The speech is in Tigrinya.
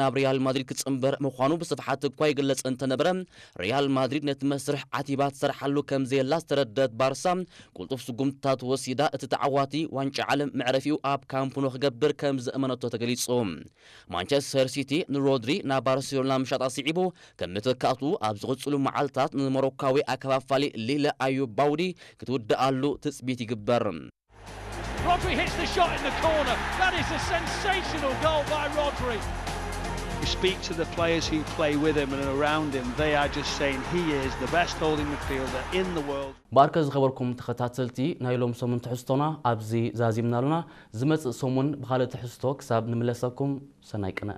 ናብ ሪያል ማድሪድ ክጽንበር ምዃኑ ብስፍሓት እኳ ይግለጽ እንተነበረ፣ ሪያል ማድሪድ ነቲ መስርሕ ዓቲባ ትሰርሓሉ ከም ዘየላ ዝተረደት ባርሳ፣ ቅልጡፍ ስጉምትታት ወሲዳ እቲ ተዓዋቲ ዋንጫ ዓለም መዕረፊኡ ኣብ ካምፕ ኑ ክገብር ከም ዘእመነቶ ተገሊጹ። ማንቸስተር ሲቲ ንሮድሪ ናብ ባርሴሎና ምሻጣ ስዒቡ፣ ከም መተካእቱ ኣብ ዝቕጽሉ መዓልታት ንሞሮካዊ ኣከፋፋሊ ሊለ ኣዩብ ባውዲ ክትውድኣሉ ትጽቢት ይግበር። Rodri hits the shot in the corner. That is a sensational goal by Rodri. You speak to the players who play with him and around him, they are just saying he is the best holding midfielder in the world. ባርከ ዝኸበርኩም ተኸታተልቲ ናይ ሎም ሰሙን ትሕዝቶና ኣብዚ ዛዚምናሉና። ዝመጽእ ሰሙን ብኻልእ ትሕዝቶ ክሳብ ንምለሰኩም ሰናይ ቅነ።